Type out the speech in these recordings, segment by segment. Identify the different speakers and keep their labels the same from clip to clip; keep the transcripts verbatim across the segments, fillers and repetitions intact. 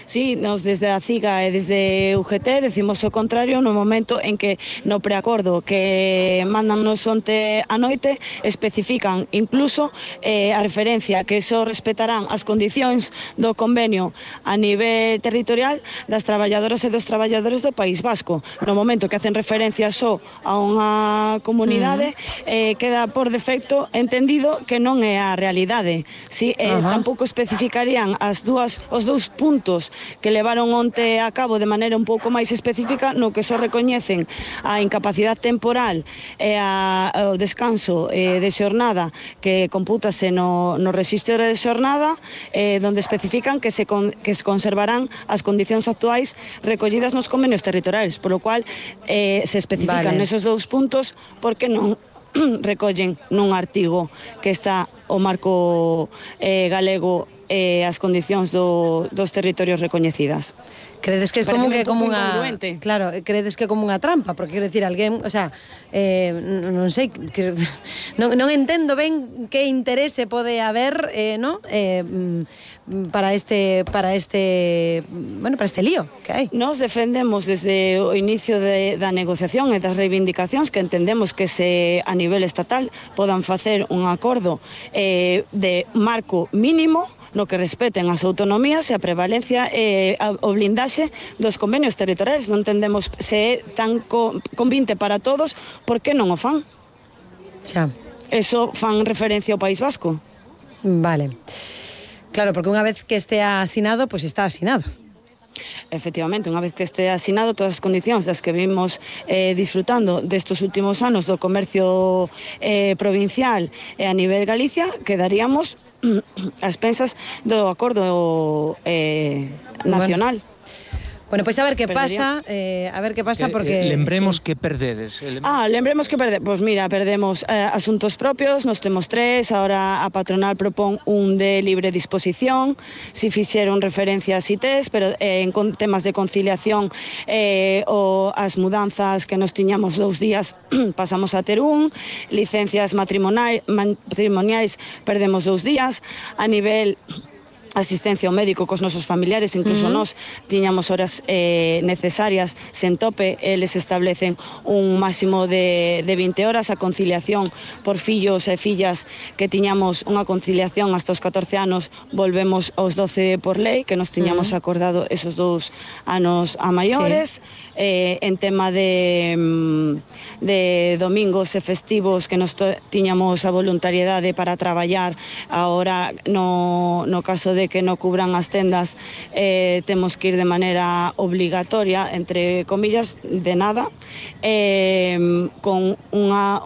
Speaker 1: Sí, nos desde a CIGA e desde U G T decimos o contrario no momento en que no preacordo que mandannos onte a noite especifican incluso eh, a referencia que só respetarán as condicións do convenio a nivel territorial das traballadoras e dos traballadores do País Vasco. No momento que hacen referencia só a unha comunidade, uh-huh. eh, queda por defecto entendido que non é a realidade. Sí, eh, uh-huh. Tampouco especificarían as dúas, os dous puntos que levaron onte a cabo de maneira un pouco máis específica no que só recoñecen a incapacidade temporal e a, o descanso eh, de xornada que compútase no, no rexistro de xornada eh, donde especifican que se, con, que se conservarán as condicións actuais recollidas nos convenios territoriais, por lo cual eh, se especifican vale. Nesos dous puntos porque non recollen nun artigo que está o marco eh, galego e eh, as condicións do, dos territorios recoñecidas.
Speaker 2: Credes que é como que como unha claro, credes que é como unha trampa, porque quero decir, alguén, o sea, eh, non sei, que, non, non entendo ben que interese pode haber, eh, ¿no? Eh, para este para este, bueno, para este lío que hai.
Speaker 1: Nos defendemos desde o inicio de, da negociación e das reivindicacións que entendemos que se a nivel estatal podan facer un acordo eh, de marco mínimo no que respeten as autonomías e a prevalencia e eh, o blindaxe dos convenios territoriais. Non entendemos se é tan co, convinte para todos, por que non o fan?
Speaker 2: Xa.
Speaker 1: Eso fan referencia ao País Vasco.
Speaker 2: Vale. Claro, porque unha vez que estea asinado, pois pues está asinado.
Speaker 1: Efectivamente, unha vez que este asinado todas as condicións das que vimos eh, disfrutando destes últimos anos do comercio eh, provincial e a nivel Galicia, quedaríamos as pensas do acordo eh, nacional.
Speaker 2: Bueno. Bueno, pois pues a ver que pasa, eh, a ver que pasa porque...
Speaker 3: Eh, lembremos
Speaker 2: sí.
Speaker 3: que perdedes. Eh,
Speaker 1: ah, lembremos que perdedes. Pois pues mira, perdemos eh, asuntos propios, nos temos tres, ahora a patronal propón un de libre disposición, si fixeron referencia a C I T E S, pero eh, en con, temas de conciliación eh, o as mudanzas que nos tiñamos dous días pasamos a ter un, licencias matrimoniais, matrimoniais perdemos dous días, a nivel... asistencia ao médico cos nosos familiares, incluso uh-huh. nós tiñamos horas eh, necesarias sen tope, eles establecen un máximo de, de vinte horas, a conciliación por fillos e fillas que tiñamos unha conciliación hasta os catorce anos, volvemos aos doce por lei, que nos tiñamos uh-huh. acordado esos dous anos a maiores, sí. eh, en tema de, de domingos e festivos que nos to, tiñamos a voluntariedade para traballar, ahora no, no caso de que non cubran as tendas eh, temos que ir de maneira obligatoria, entre comillas, de nada, eh, con unha,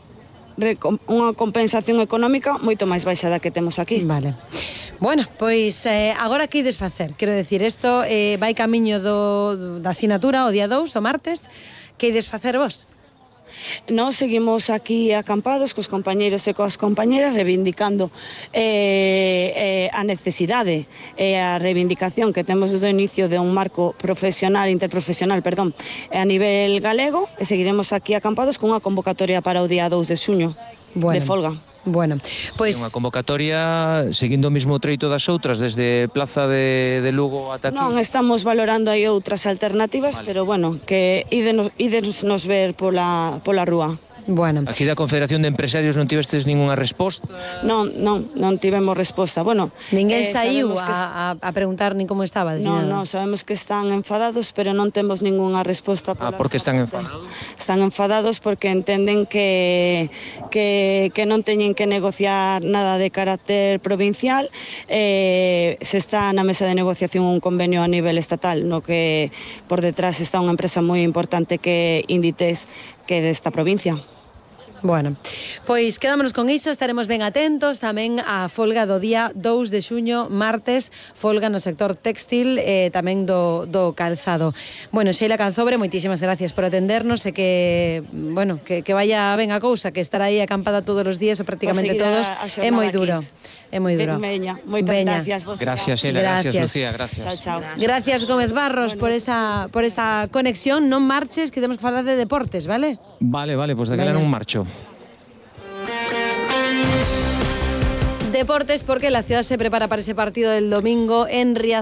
Speaker 1: unha compensación económica moito máis baixa da que temos aquí.
Speaker 2: Vale. Bueno, pois eh, agora que ides facer? Quero decir, isto eh, vai camiño do, da asinatura o día dous, o martes, que ides facer vos?
Speaker 1: Nós seguimos aquí acampados cos compañeiros e coas compañeras reivindicando eh, eh, a necesidade e a reivindicación que temos do inicio de un marco profesional, interprofesional, perdón, a nivel galego, e seguiremos aquí acampados con unha convocatoria para o día dous de xuño, bueno. de folga.
Speaker 2: Bueno, pois...
Speaker 3: Sí, unha convocatoria seguindo o mesmo treito das outras, desde Plaza de, de Lugo ata aquí.
Speaker 1: Non, estamos valorando aí outras alternativas, vale. Pero bueno, que ídenos, ídenos nos ver pola, pola rúa.
Speaker 2: Bueno.
Speaker 3: Aquí da Confederación de Empresarios non tivestes ningunha resposta?
Speaker 1: Non, non, non tivemos resposta. Bueno,
Speaker 2: ninguén eh, saiu a, a, a preguntar nin como estaba.
Speaker 1: Non, non, sabemos que están enfadados, pero non temos ningunha resposta.
Speaker 3: Ah, por que están enfadados?
Speaker 1: Están enfadados porque entenden que, que, que non teñen que negociar nada de carácter provincial, eh, se está na mesa de negociación un convenio a nivel estatal, no que por detrás está unha empresa moi importante que Inditex, que é desta provincia.
Speaker 2: Bueno, pois quedámonos con iso, estaremos ben atentos tamén á folga do día dous de xuño, martes, folga no sector textil e eh, tamén do, do calzado. Bueno, Sheila Canzobre, moitísimas gracias por atendernos e que, bueno, que, que vaya ben a cousa, que estar aí acampada todos os días ou prácticamente todos é moi duro. É moi duro.
Speaker 1: Veña, moitas
Speaker 2: Veña.
Speaker 1: gracias. Vos
Speaker 3: gracias, Sheila, gracias. gracias, Lucía, gracias.
Speaker 1: Chao, chao.
Speaker 2: Gracias, Gómez Barros, bueno, por esa por esa conexión. Non marches, que temos que falar de deportes, vale?
Speaker 3: Vale, vale, pois pues daquela non marcho.
Speaker 2: Deportes, porque la ciudad se prepara para ese partido del domingo en Riazor.